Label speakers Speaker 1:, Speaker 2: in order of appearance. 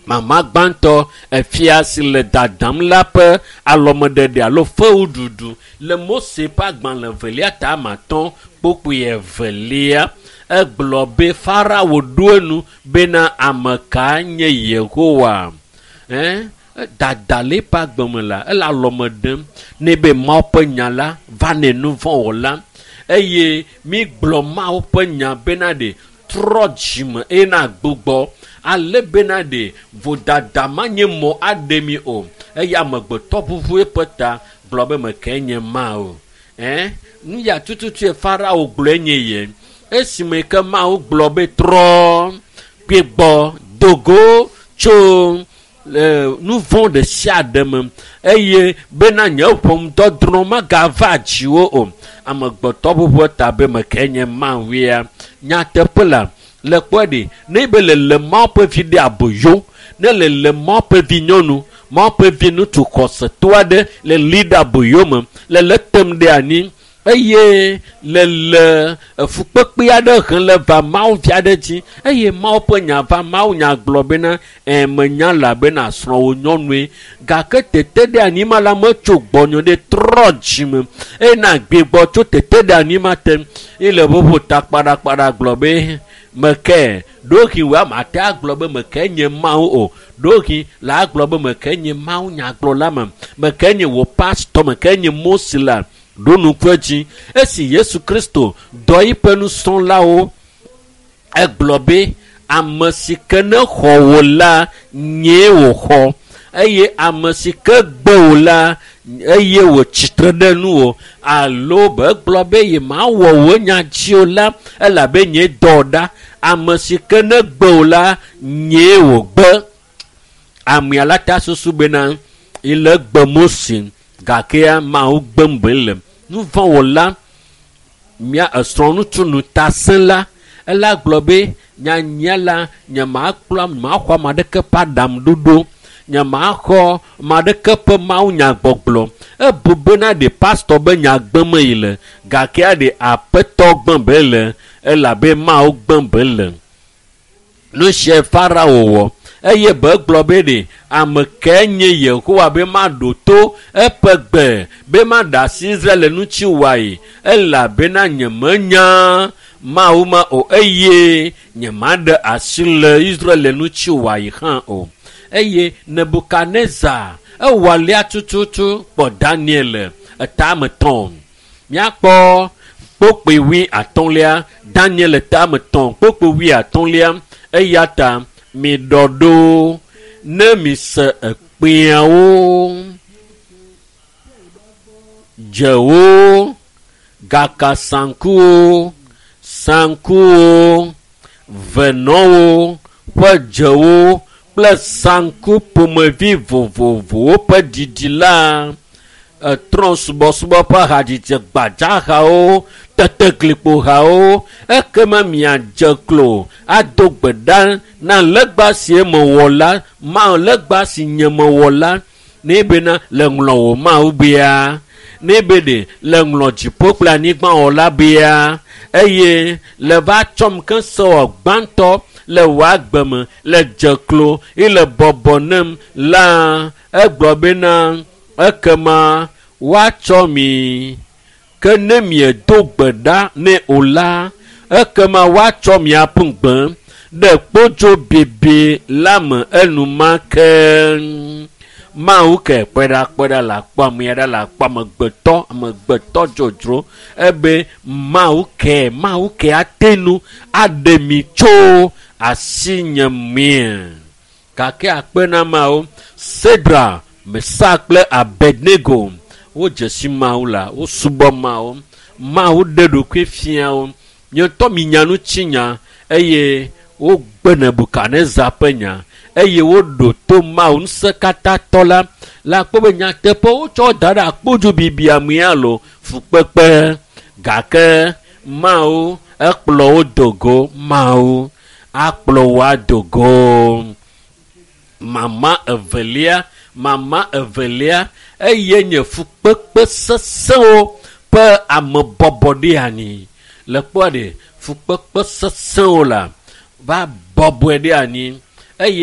Speaker 1: Mama gbãtɔ efia si le dadam la ƒe alɔmeɖeɖe alo fewuɖuɖu le Mose ƒe agbalẽ evelia ta ame atɔ̃ kpokpui evelia. Egblɔ be Farao ɖo enu bena ame ka nye Yehowa. Ɛ dada le eƒe agbe me la ele alɔme ɖem ne be Mawu ƒe nya la va nɛ nu vɔ̃ wɔla eye mi gblɔ Mawu ƒe nya bena ɖe trɔ dzime eye na gbugbɔ ale bena ɖe vodada ma nye mɔ aɖe mi o eye amegbetɔ ʋuʋu eƒe ta gblɔ be meke nye Mawu. Ɛ nu ya tututu Farao gblɔe nye ye esime ke Mawu gblɔ be trɔ gbigbɔ dogo tso le nu vɔ̃ ɖe sia ɖe me eye bena nye ʋɔnudɔdrɔ̃ magava dziwò o. Amegbetɔ ʋuʋu ta be meke nye Mawuia. Nyateƒe la le kpɔe ɖi ne be le le Mawu ƒe vi ɖe aboyo ne le le Mawu ƒe vi nyɔnu Mawu ƒe vi ŋutsu xɔsetɔ aɖe le li ɖe aboyo me le le tem ɖe anyi eye le le fukpekpe aɖe hem le va Mawu vi aɖe dzi eye Mawu ƒe nya va Mawu nya gblɔ bena ɛ menya la bena srɔ̃wò nyɔnue gake tete ɖe anyi ma la metso gbɔnyo ɖe trɔ dzime eye na gbigbɔ tso tete ɖe anyi ma te ye le ʋuʋu ta kpaɖakpaɖa gblɔ be meke ɖohi wɔ ame ate agblɔ be meke nye Mawu o ɖohi la agblɔ be meke nye Mawu nyagblɔla me meke nye wò pastor meke nye Mose la ɖo nuku edzi esi Yesu Kristo dɔ eƒe nusrɔ̃lawo egblɔ be ame si ke ne xɔ wò la nyee wòxɔ eye ame si ke gbe wò la eye wòtsitre ɖe nuwò alo be egblɔ be yemawɔ wò nya dzi o la elabe nye dɔ ɖa ame si ke ne gbe wò la nyee wògbe. Amea la ta susu bena ele gbe Mose gake Mawu gbem be le nu vɔ̃ wɔla mia esrɔ̃ ŋutsu ŋutasẽla ela gblɔ be nyanya la nyemakplɔ maxɔ ame aɖeke ƒe aɖaŋuɖoɖo nyemaxɔ ame aɖeke ƒe Mawu nyagbɔgblɔ ebu bena ɖe pastor be nya gbem yi le gake ɖe aƒetɔ gbem be le elabe Mawu gbem be le. Nu sia Farao wɔ eye be gblɔ be ɖe ame ke nye Yehowa be maɖo to eƒe gbe be maɖe asi Israel ŋuti wɔe elabena nyemenya Mawu ma o eye nyemaɖe asi le Israel ŋuti wɔe hã o. Eye Nebukadnezar ewɔ alea tututu kpɔ Daniel etame tɔn. Míakpɔ kpokpui wui atɔ̃lia Daniel etame tɔn kpokpui wui atɔ̃lia eya ta mi ɖɔ ɖo ne mi se ekpẽawo dzewo gaka sankuwo sankuwo venɔwo ƒe dzewo kple sanku ƒomevi vovovowo ƒe ɖiɖi la etrɔ subɔsubɔ ƒe hadzidzi gbadzahawo teteglikpohawo ekema miadze klo ado gbe ɖa na legba si mewɔ la Mawu legba si nye mewɔ la ne bena le ŋlɔ wò Mawu bia ne be ɖe le ŋlɔ dziƒo kple anyigba wɔla bia eye le va tsɔm ke sewɔ gbãtɔ le wò agbe me le dze klo eye le bɔbɔ nem la egblɔ bena ekema woatsɔ mi ke ne miedo gbe ɖa nɛ o la ekema woatsɔ miaƒe gbe ɖe kpodzo bibi la me enumake. Mawu ke kpeɖakpeɖa le akpɔ ame aɖe le akpɔ amegbetɔ amegbetɔ dzodzro ebe Mawu ke Mawu ke ate nu aɖe mi tso asinye mie. Gake akpe na Mawu Sedra, Mesa kple Abednego wodze si Mawu la wosubɔ Mawu. Mawu ɖe ɖokui fia wo. Nye ŋutɔ minya ŋutinya eye wogbe Nebukadnezar ƒe nya eye woɖo to Mawu ŋusẽkatãtɔ la la kpɔ be nyateƒe wotsɔ da ɖe akpodzo bibia me alo fukpekpe gake Mawu ekplɔ wo do go Mawu akplɔ wo ado go. Mama evelia mama evelia eye nye fukpekpe sesẽwo ƒe amebɔbɔ ɖe anyi le kpɔa ɖe fukpekpe sesẽwo la va bɔbɔe ɖe anyi eye